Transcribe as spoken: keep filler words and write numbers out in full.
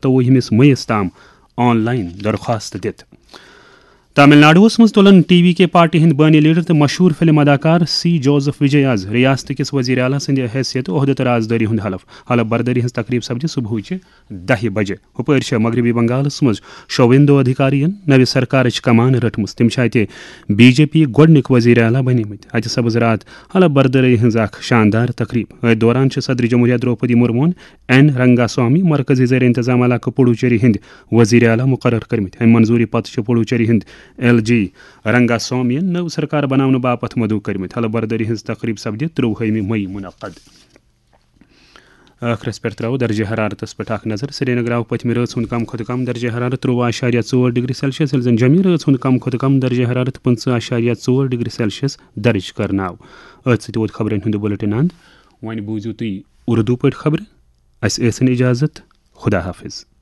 تہٕ وُہمِس مئیس تام on line درخواست دِتھ۔ تامل ناڈوَس منٛز تُلن ٹی وی کے پارٹی ہٕنٛدۍ بٲنی لیڈر تہٕ مشہوٗر فلم اداکار سی جوزف وجے آز ریاست کِس وزیر اعلیٰ سٕنٛدِ حیثیت عہدٕ تہٕ رازدٲری ہُنٛد حلف۔ حلف بردٲری ہٕنٛز تقریب سپدِ صبحٕچہِ دَہہِ بجہِ۔ ہُپٲرۍ چھےٚ مغربی بنگالس منٛز شوویندو ادھیکاریَن نوِ سرکارٕچ کمان رٔٹمٕژ۔ تِم چھِ اَتہِ بی جے پی گۄڈٕنِکۍ وزیر اعلیٰ بنیمٕتۍ۔ اَتہِ سپٕز راتھ حلف بردٲری ہٕنٛز اکھ شاندار تقریب۔ أتھۍ دوران چھِ صدر جمہوریہ درٛوپدی مرموٗہن این رنگاسوامی، مرکزی زیر انتظام علاقہٕ پڈوچیری ہٕنٛدۍ وزیر اعلیٰ مقرر کٔرمٕتۍ۔ اَمہِ منظوٗری پتہٕ چھِ پڈوچیری ہٕنٛدۍ ایل جی رنگاسوامی یَن نٔو سرکار بناونہٕ باپتھ مدعو کٔرمٕتۍ۔ حلف بردٲری ہٕنٛز تقریب سپدِ ترٛۆوُہمہِ مئی منعقد۔ ٲخرس پٮ۪ٹھ ترٛاوو درجہ حرارتس پٮ۪ٹھ اکھ نظر۔ سرینگر آو پٔتمہِ رٲژ ہُنٛد کم کھۄتہٕ کم درجہ حرارت ترٛۆوُہ اعشاریہ ژور ڈگری سیلسیس، ییٚلہِ زن جمہِ رٲژ ہُنٛد کم کھۄتہٕ کم درجہ حرارت پٕنٛژٕہ اعشاریہ ژور ڈگری سیلسیس درج کرنہٕ آو۔ أتھۍ سۭتۍ ووت خبرن ہُنٛد بُلٹن اند۔ وۄنۍ بوٗزِو تُہۍ اردو پٲٹھۍ خبرٕ۔ اسہِ ٲسِن اجازت۔ خدا حافظ۔